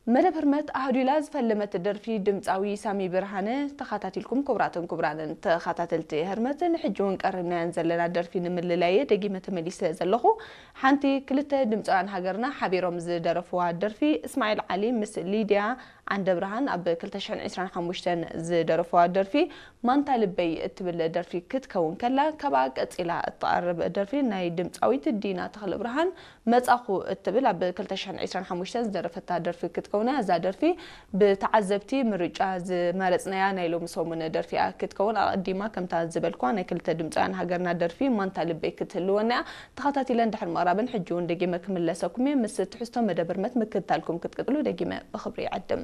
መደብ ህርመት ኣህዱላ ዝፈለመት ደርፊ ድምፃዊ ሳሚ ብርሃነ ተኻታቲልኩም። ክቡራትን ክቡራንን ተኻታተልቲ ህርመት፣ ንሕጂ እውን ቀሪብናየን ዘለና ደርፊ ንምልላየ ደጊመ ተመሊሰ ዘለኹ። ሓንቲ ክልተ ድምፃውያን ሃገርና ሓቢሮም ዝደረፍዋ ደርፊ፣ እስማዒል ዓሊ ምስ ሊድያ ዓንደ ብርሃን ኣብ ክልተ ሽሕን ዕስራን ሓሙሽተን ዝደረፍዋ ደርፊ ማንታ ልበይ እትብል ደርፊ ክትከውን ከላ፣ ካብኣ ቀፂላ እትቐርብ ደርፊ ናይ ድምፃዊት ዲና ተኽለ ብርሃን መጻኹ እትብል ኣብ ክልተ ሽሕን ዕስራን ሓሙሽተን ዝደረፈታ ደርፊ ክትከውን እያ። እዛ ደርፊ ብተዓዘብቲ ምርጫ ዝመረጽናያ ናይ ሎሚ ሰሙን ደርፊ እያ ክትከውን። ኣቐዲማ ከምታ ዝበልኳ ናይ ክልተ ድምፃውያን ሃገርና ደርፊ ማንታ ልበይ ክትህልወና እያ። ተኸታቲለ እንድሕር ምቕራብን ሕጂ እውን ደጊመ ክምለሰኩም እየ። ምስ ትሕዝቶ መደብ ህርመት ምክትታልኩም ክትቅጥሉ ደጊመ ብኽብሪ ይዕድም።